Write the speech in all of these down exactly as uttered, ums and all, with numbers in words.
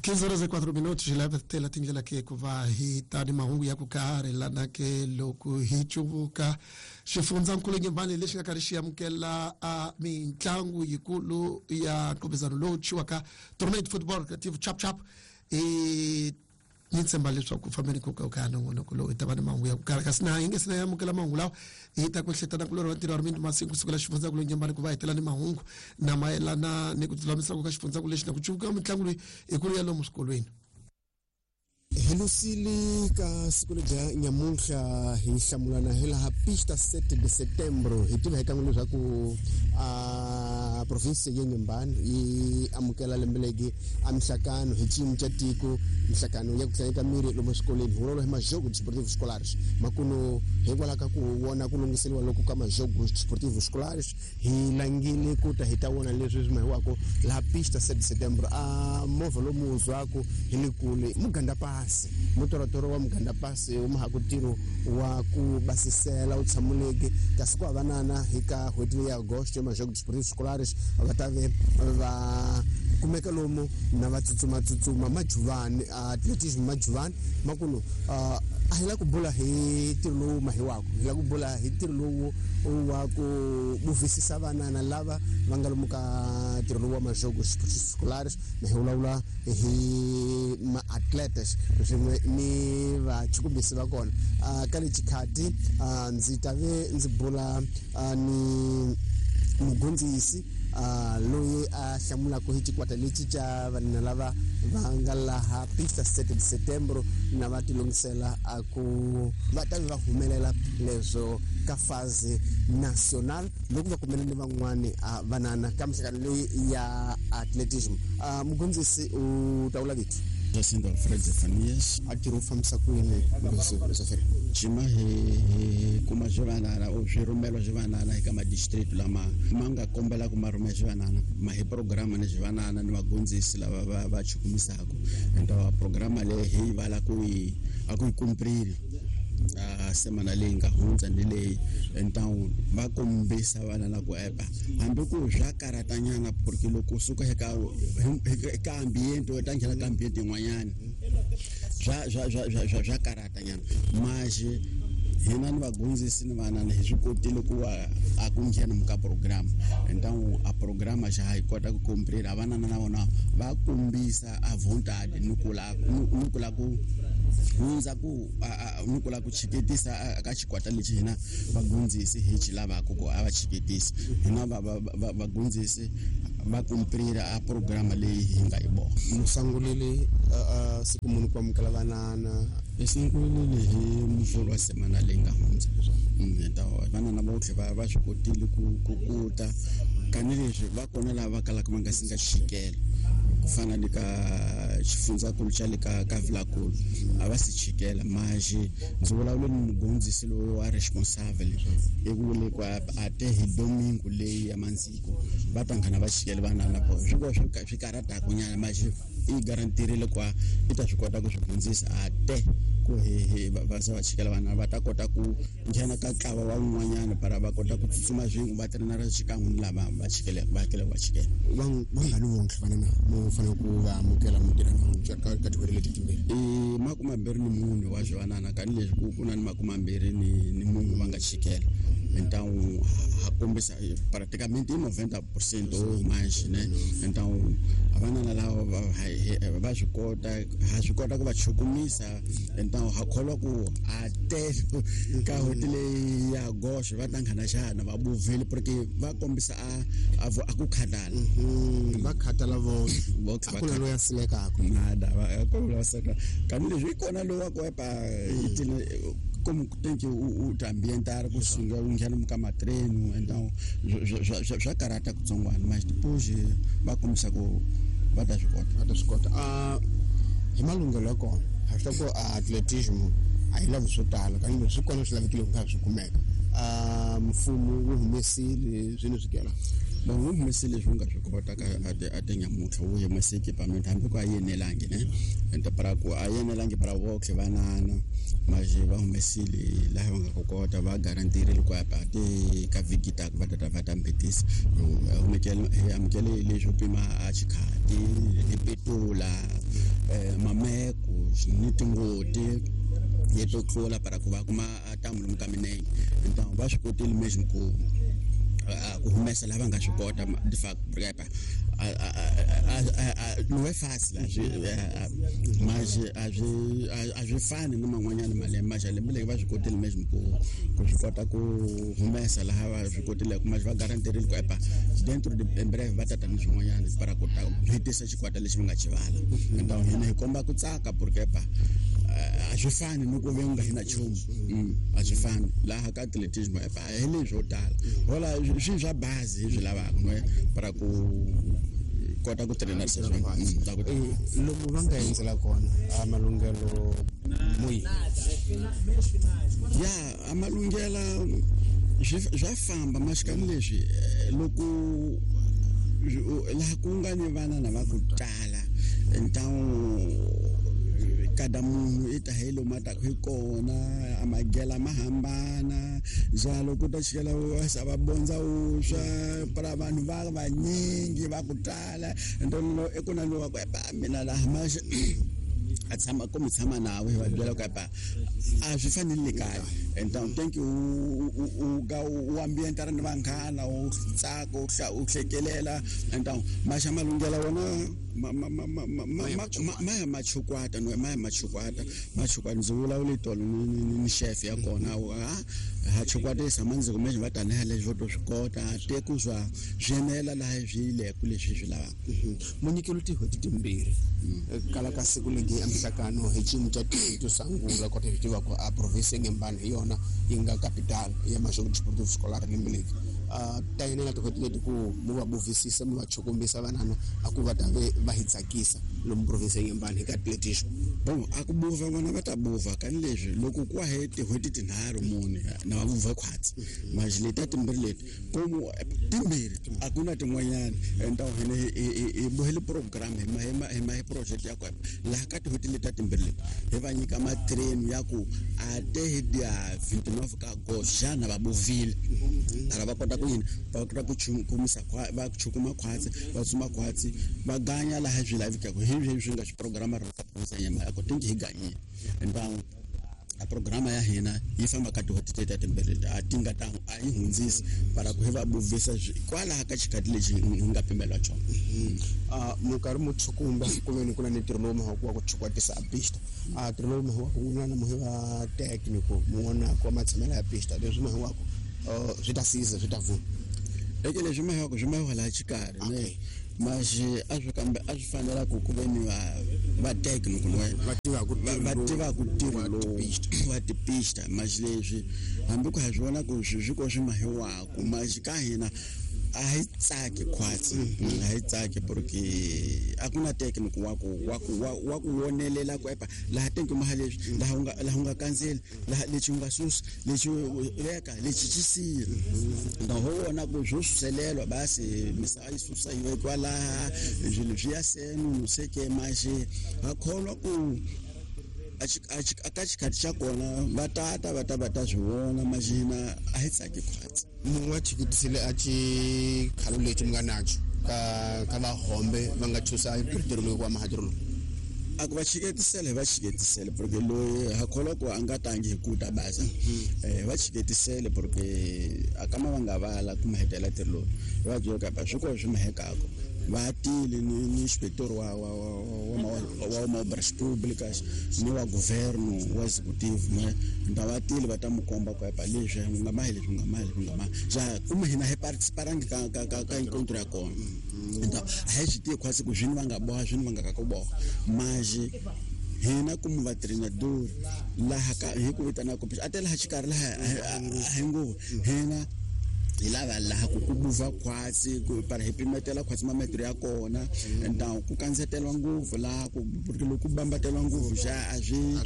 quinze horas e quatro minutos leva tela tindlela ke ku va hi ta ni mahungu ya ku karhi lana ke loko hi cuvuka xifundzankulu Nyembani lexi nga karhi xi amukela a mitlangu yikulu ya nqopezano lowu thyiwaka tournament football creative chap chap i ni tshemba leswaku fambeni ku ka nongonoko lowu hi ta va ni mahungu ya ku karhi kasi na hi nge se na amukela mahungu lawa hi ta ku hletana kulorhi wa ntirho wa rimindi masiku kusukela xifundzankulu Nyembani ku va hetela ni mahungu na mayelana ni ku tilulamisaka ka xifundzankulu lexi na ku cuvuka mitlangu leyi ikulu ya lomu swikolweni. Hi lusile ka siku lebya nyamuntlha hi hlamulana hi laha pista sete de setembro hi tiva hi kan'we leswaku a province ya Nyembani yi amukela lembe legi a mihlakano hi xiyimo xa tiko mihlakano ya ku tlanga miri lomu swikolweni hi vulavula hi majogo desportivo escolares makuno hikwalaho ka ku vona ku lunghiseriwa loko ka majogo desportivo escolares hi langile ku ta hi ta vona leswi swi mahiwako laha pista sete de setembro a movha lomu hundzaka hi le kule muganda pasi mutorotoro wa muganda pasi wu maha ku ntirho wa ku basisela wu tshamuleke kasi ku havanana hi ka n'hweti leyi ya agosto majogo desportivo escolares va ta ve va kumeka lomu na va tsutsumatsutsuma majuvani atletism majuvani makuno a hi la ku bula hi ntirho lowu mahiwaka hi la ku bula hi ntirho lowu wa ku buvisisa vanana lava va nga lomu ka ntirho lowu wa majogo escolares na hi vulavula hi maatletes swin'we ni vachukumbisi va kona ka le xikhati ndzi ta ve ndzi bula ni mugondzisi loyi a hlamulaka hi xikwata lexi xa vanhu lava va nga laha pista sete de setembro na va tilungisela a ku va ta va humelela leswo ka phase national loko va kumele ni van'wani vanana ka mihlangano leyi ya atletism. Mugondzisi u ta vula vito Jacinto Alfred Zefanias a tirho fambisa ku yini Muferi Jima hi kuma swivanana o swirhumelo swivanana eka madistrict lama ma nga kombela ku ma rhumela swivanana ma hi programa ni swivanana ni vagondzisi lava va va chukumisaka ento programa leyi hi vala ku yi a ku yi kumprili a semana leyi nga hundza ni leyi então va kombisa vana la ku epa hambi ku swa karatanyana porque loko suka eka eka ambiente u ta nghena ka ambiente yin'wanyana swa swa swa swa swa karatanyana mas hina ni vagondzisi ni vanana hi swi kotile ku va a ku nghena muka programa então a programa xa hi kota ku kumprira vanana na vona va kombisa a vontade ni ku la ni ku la ku hundza ku ni ku la ku chiketisa ka xikwata lexi hina vagondzisi hi xi lavaka ku a va chiketisa hina vagondzisi va kumprira a programa leyi hi nga yi boha. Musangulile siku munhu ku amukela vanana hi sungulile hi muvhulu wa semana leyi nga hundza vanana votlhe va va swi kotile ku ku kuta tanihileswi va kona lava va kalaka va nga si nga chikela ku fana ni ka xifundzankulu xa le ka ka Vilakulu a va si chikela mas ndzi vulavule ni mugondzisi loyi wa responsable i vule ku a te hi domingo leyi ya mandziko va ta nghena va chikela vanana po swi va swi swi karhataka nyana mas i garantirile ku i ta swi kota ku swi hundzisa a te ku hi va se va chikela vana va ta kota ku nghena ka ntlawa wa wun'wanyana para va kota ku tsutsuma swin'we va trenara xikan'we ni lava va chikele va hakela va chikela va va nga ni vontlhe vanana mo fanele ku va amukela mutirha na ka category leti timbirhi i makume mambirhi ni mune wa swivanana tanihileswi ku ku na ni makume mambirhi ni ni munhu va nga chikela então ha kombisa praticamente i noventa por cento ou mais né então vanana lava va swi kota ha swi kota ku va chukumisa então ha kholwa ku a te ka n'hweti leyi ya goxe va ta nghena xana va buvile porque va kombisa a a ku khatala va khatala vo a ku na loyi a silekaka nada va ku la seka kanileswi i kona loyi wa ku epa como tem que o o ambientar ku sunga u nghena muka matreno então swa karata kutsongwana mas depois va kombisa ku va ta swi kota va ta swi kota a hi malunghelo ya kona ha swi ku atletism a yi lavi swo tala kambe swi kona swi lavekile ku nga swi kumeka a mfumo wu humesile swini swi kela bon wu humesile leswi wu nga swi kota ka a tinyamuntlha wu humese equipment hambi ku a yenelangi ne ende para ku a yenelangi para votlhe vanana mas va humesile laha va nga ku kota va garantirile ku a ti ka vhiki taka va ta va ta mbetisa hi amukele leswo pima a xikhati hi petula mameko ni tingoti leto tlula para ku va kuma ntamu lomu ka minenge. Então va swi kotile mesmo ku ku humesa lava nga swi kota de fato porque não é fácil mas a swi a swi fani na man'wanyana malembe mas lembe leri va swi kotile mesmo ku ku swi kota ku humesa laha va swi kotileke mas va garantirile ku epa dentro de em breve va tata ni swin'wanyana para ku ta hetisa xikwata lexi va nga xi vala. Então hina hi komba ku tsaka porque epa a swi fani ni ku ve u nga hi na nchumu, a swi fani laha ka atletismo epa hi leswo tala hola swi swa bazi hi swi lavaka no para ku kota ku trainer swona. Lomu va nga endzela kona a malunghelo muyi ya a malunghela swa famba maxikani leswi loko laha ku nga ni vana na va ku tala então kada munhu i ta hi lomu a taka hi kona a magela ma hambana njalo ku ta chikela va bondza vuswa para vanhu va vanyingi va ku tala então i ku na lowa ku epa mina laha ma a tshama ku mi tshama nawe va byela ku epa a swi fanele kaya. Então thank you u ga u ambientara ni vanghana u tsaka u u hlekelela. Então maxa malunghela wona ma ma ma ma ma ma ya machukwata no ma ya machukwata machukwata ndzi vulavula tolo ni ni chef ya kona ha ha chukwatisa mandzi kumbe va tanihi leswi vo to swi kota te ku swa swi enela laha swi yile ku leswi swi lavaka. Munyikelo tin'hweti timbirhi kala ka siku legi ya mihlangano hi xiyimo xa to sungula kota hi tiva ku a province Inhambane hi yona yi nga capital ya Maxogo Desportivo Escolar lembe leri ta yenela tin'hweti leti ku mu va buvisisa mu va chukumbisa vanana a ku va ta ve va hi tsakisa lomu province Inhambane hi ka atletismo. Bon a ku buva vona va ta buva kani leswi loko ku he tin'hweti tinharhu mune na va buva khwatsi mas leti timbirhi leti komu timbirhi a ku na tin'wanyana. Então hina hi bohele program hi ma hi ma hi ma hi project ya kona laha ka tin'hweti leti timbirhi leti hi va nyika matrain ya ku a te hi dia vinte e nove ka agosto xana va buvile ara va kota ku yini va kota ku chukumisa va chukuma khwatsi va tsuma khwatsi va ganya laha swi lavekaka hi leswi swi nga swi programa ra ka nyama ya ku tinki hi ganyile. Então a programa ya hina yi famba ka tin'hweti teta timbirhi a ti nga ta a yi hundzisi para ku hi va buvisa kwalaha ka xikhathi lexi hi nga pimeliwa xona. Minkarhi mo chukumba ku ve ni ku na ni ntirho lowu mahaku wa ku chukwatisa a pista a ntirho lowu mahaku wu na muhi va technical muwona ku matshamelo ya pista leswi mahiwaku swi ta siza swi ta vuna eke leswi mahiwaku swi mahiwa laha xikarhi ne mas a swi kambe a swi fanela ku ku ve ni va va technical va tivaka va tivaka ntirho lowu wa tipista mas leswi hambi ku ha swi vona ku swi swi ko swi mahiwaku mas ka hina a hi tsaki khwatsi a hi tsaki porque a ku na technical wa ku wa ku wa ku wonelela ku epa laha tenki maha leswi laha u nga laha u nga kandzeli laha lexi u nga susi lexi veka lexi xi siya. Então ho vona ku swo suselelwa basi misava yi susa yi vekiwa laha swilo swi ya senu no sei que mas ha kholwa ku a ka xikhathi xa kona va tata va ta va ta swi vona mas hina a hi tsaki khwatsi. Munhu wa chikitisile a xikhalo lexi mi nga naxo ka ka vahombe va nga chusa ntirho lowu wa mahatirho lowu a ku va chiketisele va chiketisele porque loyi ha kholwa ku a nga tangi hi ku ta basa eh va chiketisele porque a kama va nga vala ku mahetela ntirho lowu va byela ka swi ko swi mahekako va tile ni ni inspector wa wa wa wa wa obras públicas ni wa governo wa executive ne nda va tile va ta mu komba ku epa leswi nga mahi leswi nga mahi leswi nga mahi ja kuma hina hi participarangi ka ka ka ka encontro ya kona. Então a hi swi tivi khwatsi ku swini va nga boha swini va nga ka ku boha mas hina kumu va treinador laha ka hi ku vitana ku a te laha xikarhi laha hi nguva hina hi lava laha ku ku buva khwatsi ku para hi pimetela khwatsi mametro ya kona então ku kandzetelwa ngopfu laha ku porque loko ku bambateliwa ngopfu xa a swi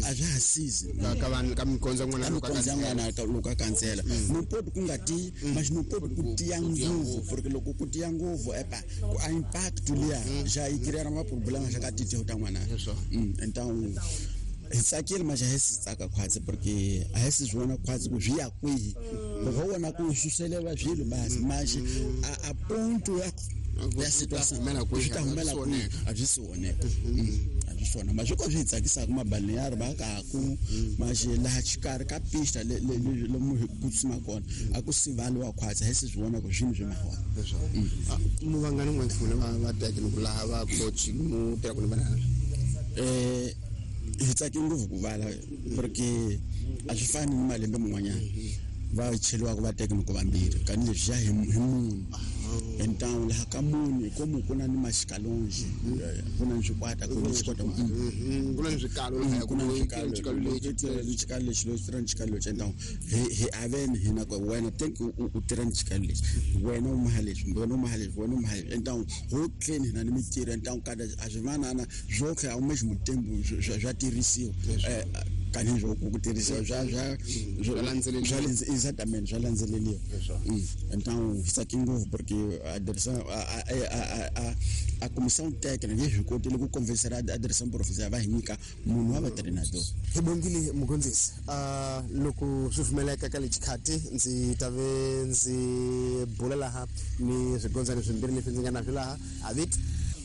a swi hasizi ka ka vanhu ka mikondzo n'wana loko ka n'wana loko a kandzela no poti ku nga tiyi mas no poti ku tiya ngopfu porque loko ku tiya ngopfu epa ku a impact liya xa yi create ma problema xa ka titeho ta n'wana. Então hi tsakile mas a hi si tsaka khwatsi porque a hi si swi vona khwatsi ku swi ya kwihi loko ho vona ku suseleriwa swilo basi mas a a ponto ya Ya situação swi ta humela kwihi a byi si oneka a byi swona ma swi ko swi hi tsakisaka mabalneário va kaku maxi laha xikarhi ka pista lomu hi ku tshama kona a ku sivaliwa khwatsa hi se swi vona ku swini swi mahola mu vangani n'wanhlule va va teka laha va coach mu tirha ku ni vanana eh hi tsake ngopfu ku vala porque a swi fani ni malembe man'wanyana va cheliwaka va teka ku vambirhi kani leswi ya hi munhu então laha ka munhu como ku na ni maxikalonji ku na swikwata ku na xikwata ku na swikalo laha ku na swikalo lexi xikalo lexi lexi tirha xikalo lexi então hi hi avene hina ku wena think u tirha xikalo lexi wena u maha leswi wena u maha leswi wena u maha leswi então ho clean hina ni mitirho então kada a swi vanana zwoke ao mesmo tempo swa tirhisiwa kani swo ku tirhisiwa swa swa swa landzeleriwa exatamente swa landzeleriwa então hi tsake ngopfu porque a direção a a a a comissão técnica yi swi kotile ku convencer a direção provincial va hi nyika munhu wa vatreinador hi bongile mugondzisi loko swi pfumeleka ka lexikhathi ndzi ta ve ndzi bula laha ni swigondzani swimbirhi leswi ndzi nga na swi laha avit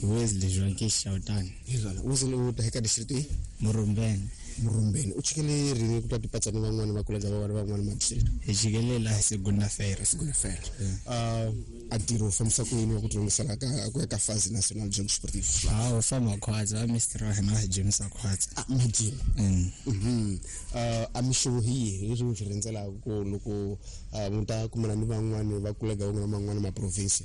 Wesley Joaquim Shautani hi Wesley u ta eka district yi Murumbeni Murumbeni u chikele rini ku ta tipatsa ni van'wana va kolega va van'wana ma district hi chikele laha segunda-feira segunda-feira uh a ntirho u fambisa ku yini wa ku tilungisela ka ku ya ka phase national jog sportif ah u famba khwatsa mister wa hina hi James khwatsa ah majim mhm uh a mixo hi leswi swi rhendzelaka ku loko mu ta kumana ni van'wana va kolega van'wana van'wana ma province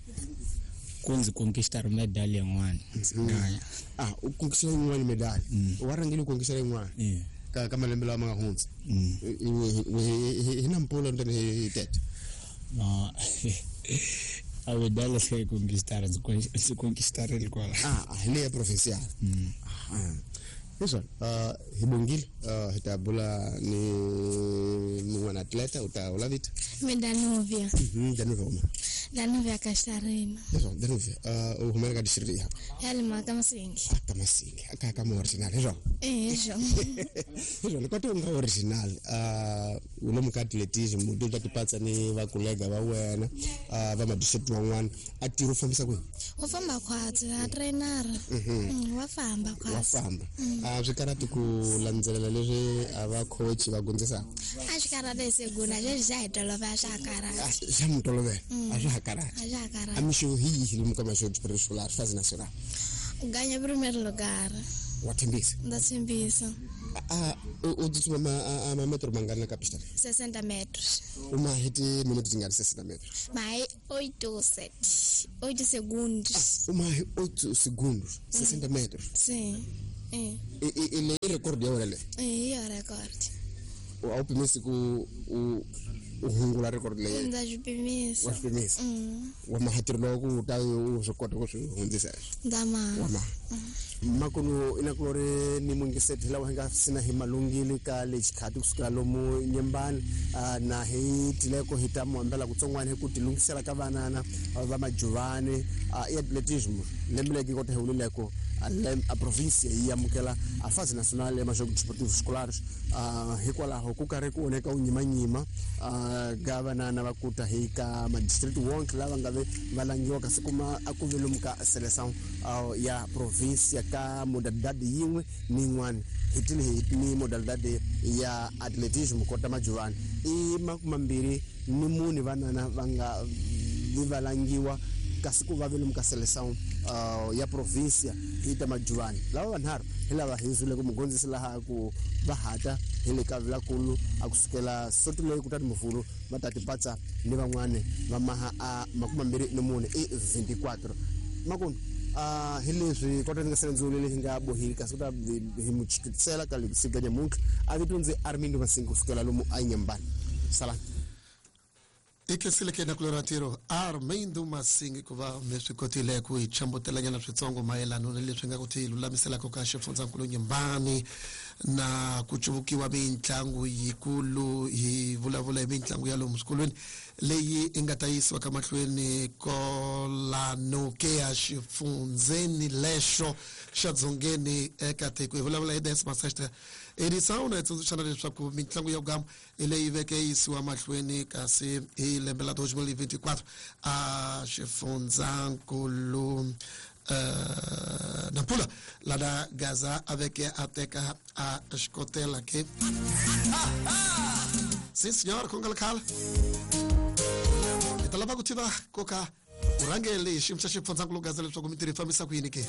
ku ndzi conquistar medal yin'wana ngaya ah u conquistar yin'wana medal wa rhangile u conquistar yin'wana ka ka malembe lawa ma nga hundza hi na mpfula ntani hi tete no a medal se conquistar ndzi conquistarile kwala ah hi leya provincial leswi hi bongile hi ta bula ni mun'wana atleta u ta ula vito mi Danuvia Danuvia uma Danuvia Castarina leswi Danuvia u humela ka district ya ya le maka Masingi ka Masingi ka ka mo original leswi eh leswi leswi loko u nga original u lomu ka atletism u ta tipatsa ni va kolega va wena va ma district van'wana a tirho u fambisa kwihi u famba khwatsi a trainer wa famba khwatsi wa famba a swi karhati ku landzelela leswi a va coach va gondzisaka a swi karhati segunda leswi swa hi tolovela swa ha karhati swa mi tolovela a swa ha karhati a swa ha karhati a mixo hi yihi lomu ka maxo escolar phase nacional u ganya primeiro lugar wa tshembisa ndza tshembisa a u tsutsuma ma metro mangani ka pista sessenta metros u ma hi timinete tingani sessenta metros ma hi oito sete oito segundos u ma hi oito segundos sessenta metros sim eh e le record ya wena le eh ya record a wu pimisi ku u u hungula record leyi ndza swi pimisa wa swi pimisa wa mahatirho lowa ku ta u swi kota ku swi hundzisa ndza ma wa ma makunu inakulori ni mungiseti lawa hi nga sina hi malungile ka lexikhathi kusukela lomu Nyembani na hi tileko hi ta muhambela kutsongwana hi ku tilungisela ka vanana va majuvani i atletism lembe leki kota hi wulileko a província yi amukela a fase nacional ya majogos desportivos escolares hikwalaho ku karhi ku oneka u nyimanyima ga vanana va kuta hi ka madistrict wonke lava nga ve va langiwa kasi kuma a ku ve lomu ka seleção ya província ka modalidade yin'we ni yin'wana hi tile hi ni modalidade ya atletism kota majuvani i makumambirhi ni mune vanana va nga vi va langiwa kasi ku va ve lomu ka seleção ya província hi ta majuvani lava vanharhu hi lava hi zwile ku mugondzisi laha ku va hata hi le ka vilakulu a kusukela soto leyi kutani muvhulu va ta tipatsa ni van'wani va maha a makumambirhi ni mune i veintiquatro makunu a hi leswi kota ni nga sele leyi nga bohile kasi ku ta hi muchikisela ka lexi nyamuntlha a vito ndzi Armindo Masingi kusukela lomu a Nyembani salani i khensile na kulora ntirho Armindo Masingi ku va mi swi kotile ku hi chambutelanyana switsongo mayelana na leswi nga ku ti lulamiselaka ka xifundzankulu Nyembani na ku cuvukiwa mitlangu yikulu hi vulavula hi mitlangu ya lomu swikolweni leyi i nga ta yisiwa ka mahlweni kolano ke ya xifundzeni lexo xa dzongeni eka tiko. Hi vulavula hi décima sexta edição na hi tsundzuxana leswaku mitlangu ya gama hi leyi veke yisiwa mahlweni kasi hi lembe la dois mil e vinte e quatro a xifundzankulu uh, Nampula lana Gaza a veke a teka a xikotela ke. Sim senhora, khongela khala hi ta lava ku tiva koka vurhangeri xiyimo xa xifundzankulu Gaza leswaku mintirho yi fambisa ku yini ke.